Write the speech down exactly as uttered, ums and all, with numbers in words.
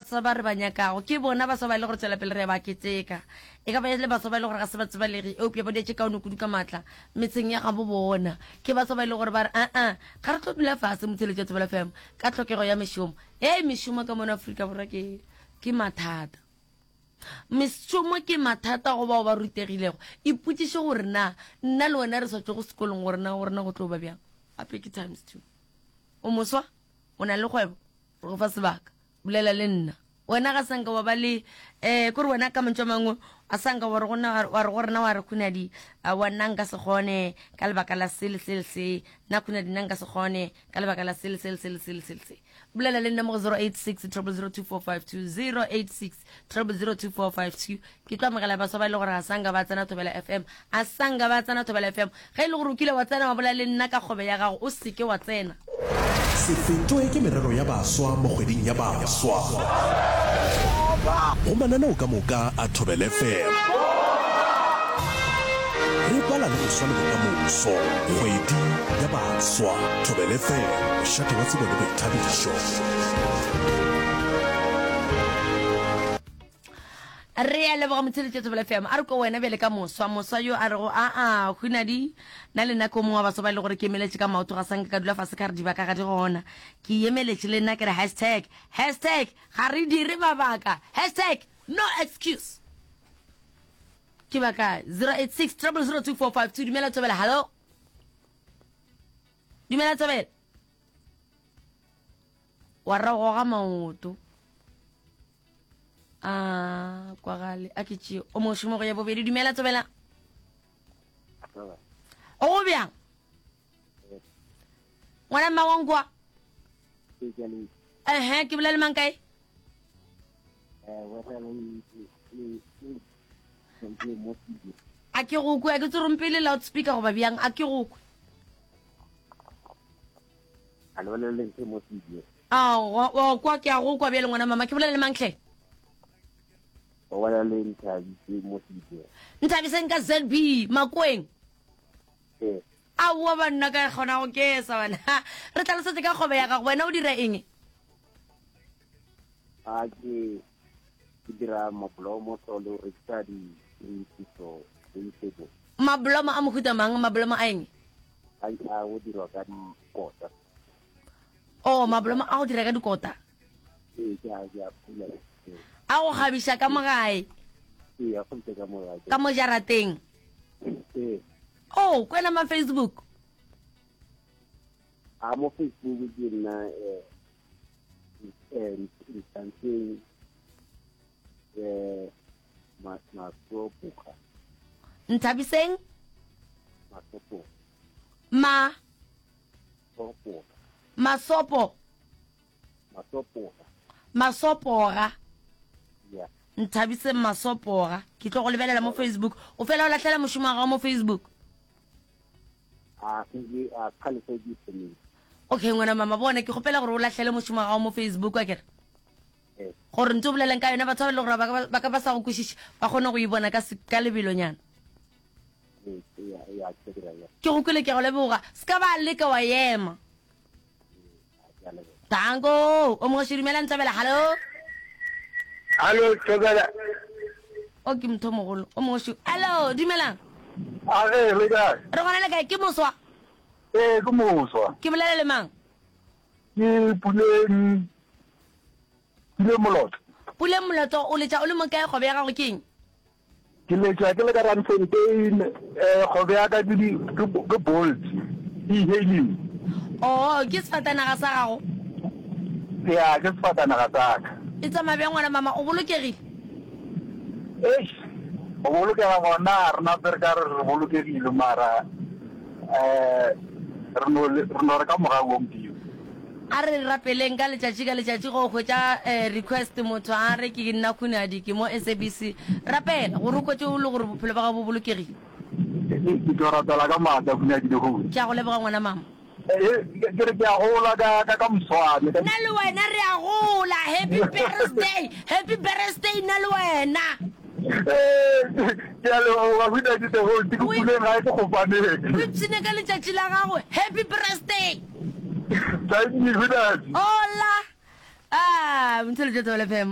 baswa ba re ba nyakago ke bona baswa ba e le gore tswela pele re ba keteka e ka ba e le baswa ba e le gore ga se ba tsebalege eupša ba dietše kaone kudu ka maatla metseng ya gabo bona ke baswa ba e le gore ba re aa ga re tlo dula fase motheletši wa Thobela FM ka tlhokego ya mešomo ei mešomo ka mono Afrika Borwa ke ke mathata mešomo ke mathata go bao ba rutegilego ipotšiše gore na nna le wena re sa tšwe go sekolong gore na gore na go tlo ba bjang gape ke times two o moswa o na le kgwebo re go fa sebaka bolela le nna wena ga sanka wa ba le um kore wena ka mantšu a mangwe a sanka wa re go rena wa re khunadi wa nna nka se kgone ka lebaka la se le se le se nna khunadi nna nka se kgone ka lebaka la se le se le se le se le se le se bolela le nna mo go zero eight six triple zero two four five two zero eight six triple zero two four five two ke tlo amogela baswa ba e le gore ga sanka ba tsena thobela fm a sanka ba tsena thobela fm ge e le gore o kile wa tsena wa bolela le nna ka kgobe ya gago o seke wa tsena Se fetwe ke merero ya baswa mo kgweding ya baswa. Go mananeo ka moka a Thobela FM. Re bala le moswa le bokamoso. Kgwedi ya baswa. Thobela FM, mošate wa tsebo le boithabišo. Re a leboga motheletši Thobela FM. A re ko wena bjale ka moswa, moswa yo a rego aa Hunadi, nna le nna ke o mongwe wa baswa ba e le gore ke emeletše ka maoto ga sanka ka dula fase ka re dibaka ga di gona. Ke emeletše le nna ke re hashtag, hashtag ga re dire mabaka, hashtag no excuse. Ke ba kae? Zero eight six triple zero two four five two. Dumela Thobela, hallo. Dumela Thobela. Wa ra goga maoto. A kwagale a ke tšeo o mošomo go ya bobedi dumela tsobela o go bjang ngwana mma wankwa ehe ke bolela mang kae a ke go kwe a ke tsorompele loudspeaker goba bjang a ke go kwe A le bolele ntho mo studio. Aowa, wa kwa ke a go kwa bjale ngwana mama, ke bolela le mang hle? O bolela le Nthabiseng mo studio. Nthabiseng ka ZB, Makweng. Ee. Aowa banna ka kgona go kesa bana. Re tlhalosetse ka kgwebo ya gago, wena o dira eng? A ke ke dira mablomo so le go rekisa di so vegetable. Mablomo a mohuta mang, mablomo a eng? A a go dirwa ka dikota. Oh, mablomo a go dira ka dikota? Ee, ke a ke a pula. A go kgabiša ka mo gae? Ee, a kgabisa ka mo gae. Ka mo jarateng? Ee. Oh, kwena ma Facebook? A mo Facebook ke nna eh eh Nthabiseng eh Masopoga. Nthabiseng? Masopoga. Ma Sopoga. Masopo. Masopoga. Masopoga. Yeah. Nthabiseng Masopoga. Ke tlo go lebelela mo Facebook. O fela o lahlela mošomo wa gago mo Facebook. A ke a kgale se ke thomile. Okay ngwana mama bona ke kgopela gore o lahlele mošomo wa gago mo Facebook a kere. Eh. Gore ntse o boleleng ka yona batho ba e le gore ba ka ba sa go kwešiše ba kgone go e bona ka ka lebelonyana. Ke go kwele ke go leboga. Se ka ba leka wa ema. Tango, o mongwe dumela Ntlabela, hallo. Hallo, Thobela. O ke motho mogolo, o mongwe Hallo, dumelang. A ge, le kae? Re gona le kae? Ke moswa. Ee, ke moswa. Ke bolela le mang? Ke Puleng Puleng Moloto. Puleng Moloto, o letša o le mo kae kgwebo ya gago ke eng? Ke letša ke le ka Randfontein, eh, kgwebo ya ka ke di, ke, ke Bolt, e-hailing. Oh, ke sefatanaga sa gago? Ya, ke sefatanaga sa ka. E tsamaya bjang ngwana mama, o bolokegile? Eish, go bolokega gona ga re nape re ka re re bolokegile mara eh, re no, re no re ka mogau wa Modimo. A re rapeleng ka letšatši ka letšatši go hwetša request motho a re ke nna Khunadi ke mo S A B C. Rapela gore o hwetše o le gore bophelo ba gago bo bolokegile. Ke tlo rapela ka maatla Khunadi lehono. Ke a go leboga ngwana mama. Ke re ke a gola ka ka ka moswane. Nna le wena re a gola. Happy birthday, happy birthday nna le wena. Ke a leboga Khunadi lehono ke puleng gae ke kgopaneng. O ipshine ka letšatši la gago. Happy birthday. Thank you, Khunadi. Hola. Ah, Mtholo Thobela F M.